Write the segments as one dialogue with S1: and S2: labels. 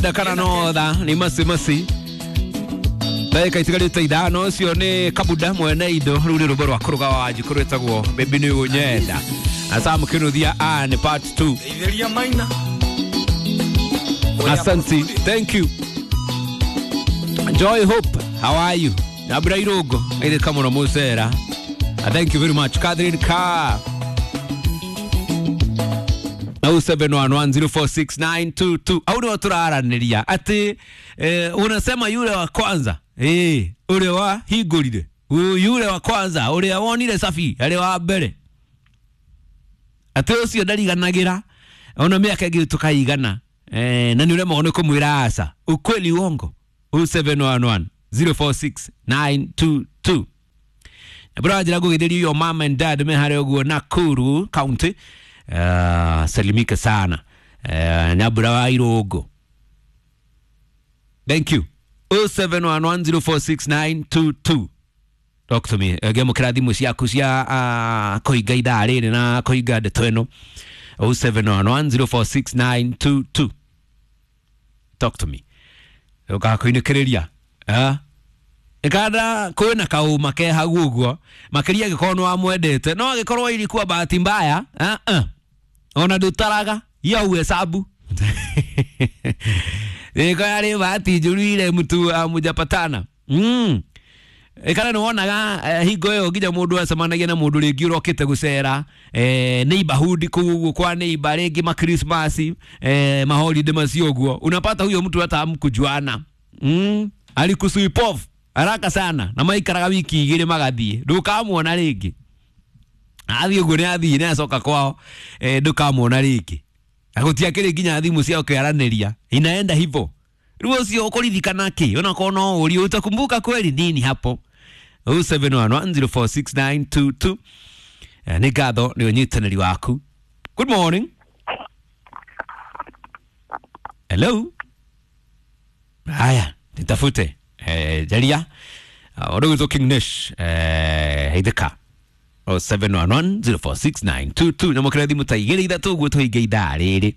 S1: Kana no tha ni masi masi ndagĩka itigarĩte 5 ũcio nĩ Kabuda mwene indo rĩu nĩ rwĩmbo rwa kũrũga wa Wanjikũ rwĩtagwo Baby nĩ ũnyenda na Sam Kinuthia a nĩ part 2.
S2: Itheria maina.
S1: Asante, thank you. Joy Hope, how are you? Nabura Irogo ĩrĩ mũno mũcera. Thank you very much. Catherine Carr 0711046922 au nĩo tũraranĩria atĩ unasema yule wa kwanza ũrĩa wa hingũrire, yule wa kwanza ũrĩa wonire safi arĩ wa mbere, atĩ ũcio ndariganagĩra ona mĩaka ĩngĩ tũkaigana na nĩ ũremagwo nĩ kũmwĩra aca. Ukweli uongo? 0711046922. Nabura njĩra ngũgĩthĩrio your mom and dad me harĩa ũguo Nakuru County. Salimika sana Nyabura wa Irogo, thank you. 0711046922. Talk to me. Ngĩamũkĩra thimũ ciaku cia kũhinga ithaa rĩrĩ na kũhinga ndeto ĩno. 0711046922. Talk to me. Ũgakũinĩkĩrĩria ikanda kwĩna kaũma ke hau ũguo makĩria angĩkorwo nĩ wamwendete, no angĩkorwo ilikuwa bahati mbaya ona ndũtaraga hiyo uhesabu ĩko yarĩ bahati njũru ile mtu amujapatana ikana nĩ wonaga hingo ĩyo nginya mũndũ acemanagia na mũndũ rĩngĩ ũrokĩte gũcera neighborhood kũu ũguo kwa neighbor rĩngĩ ma Christmas ma holiday macio ũguo, unapata huyo mtu hata hamkujuana alikusweep off haraka sana na maikaraga wiki 2 magathiĩ ndũkamuona rĩngĩ. Athiĩ ũguo nĩ athiĩ nĩ acoka kwao ndũkamuona rĩngĩ na gũtiakĩrĩ nginya thimũ cia kũaranĩria, inaenda hivyo. Rĩu ũcio ũkũririkana kĩ onakorwo no ũrie utakumbuka kweli nini hapo? 0711046922. Nĩ ngatho nĩ ũnyitanĩri waku. Good morning. Hello. Haya, nitafute jaria ũrĩa King Nish heithĩka 0711046922 nyamũkĩra thimũ ta 2 3 ũguo tũhinge ithaa rĩrĩ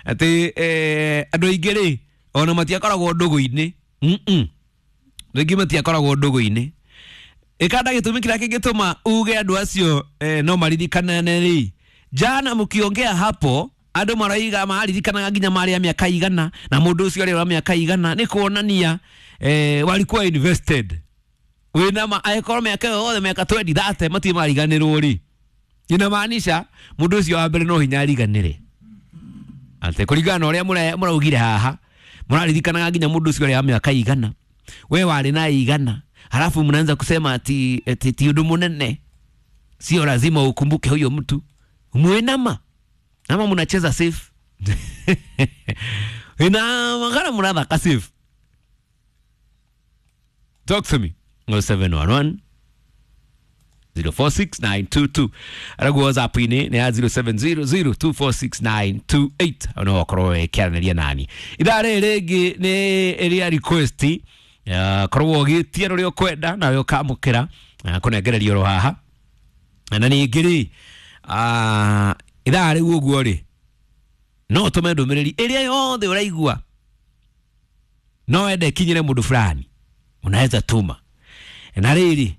S1: atĩ andũ aingĩ rĩ ona matiakoragwo ndũgũ-inĩ rĩngĩ matiakoragwo ndũgũ-inĩ ĩkanda gĩtũmi kĩrĩa kĩngĩtũma uge andũ acio no maririkanane rĩ, jana mũkiongea hapo andũ maraiga maririkanaga nginya marĩ a mĩaka igana na mũndũ ũcio arĩ wa mĩaka igana, nĩ kuonania walikuwa invested wĩna angĩkorwo mĩaka ĩyo yothe mĩaka 20 30 matirĩ mariganĩrwo rĩ, inamaanisha mũndũ ũcio wa mbere no hinya ariganĩre atĩ kũringana na ũrĩa mũraugire haha mũraririkanaga nginya mũndũ ũcio arĩ wa mĩaka igana, we warĩ na igana, halafu mnaanza kusema ati ti ũndũ mũnene, sio lazima ukumbuke huyo mtu. Mwenama ama mnacheza safe ina magara mnathaka safe. Talk to me. 0711 046922. Araguo WhatsApp-inĩ nĩ ya 0700246928 no ũkorwo wĩkĩaranĩria nani. Ithaa rĩrĩ rĩngĩ nĩ ĩrĩa request korwo ũgĩtia rũrĩa ũkwenda nawe ũkamũkĩra kũnengererio oro haha. Na ningĩ rĩ ithaa rĩu ũguo rĩ no ũtũme ndũmĩrĩri ĩrĩa yothe ũraigua no wende ĩkinyĩre mũndũ fulani, unaweza tuma. Na rĩrĩ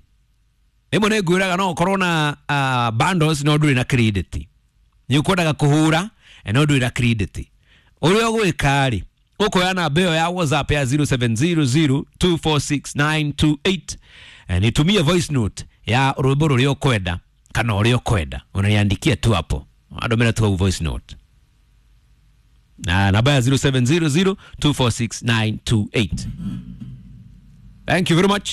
S1: rĩmwe nĩ ngwĩraga no ũkorwo na bundles no ndũrĩ na credit, nĩ ũkwendaga kũhũra no ndũrĩ na credit, ũrĩa ũgwĩka rĩ ũkoya namba ĩyo ya WhatsApp ya 0700246928 nitumie voice note ya rwĩmbo rũrĩa ũkwenda kana ũrĩa ũkwenda, unaniandikia tu hapo, andũmĩra tu hau voice note na namba ya 0700246928. Thank you very much.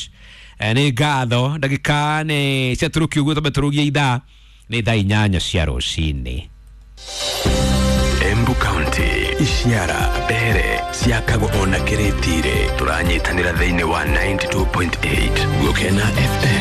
S1: Nĩ ngatho ndagĩka nĩ ciatũrũki ũguo twambe ithaa nĩ thaa 8 cia rũcinĩ.
S3: Embu County Ishiara Mbere ciakagwo ona Kĩrĩtire tũranyitanĩra thĩinĩ wa 92.8 Gũkena FM.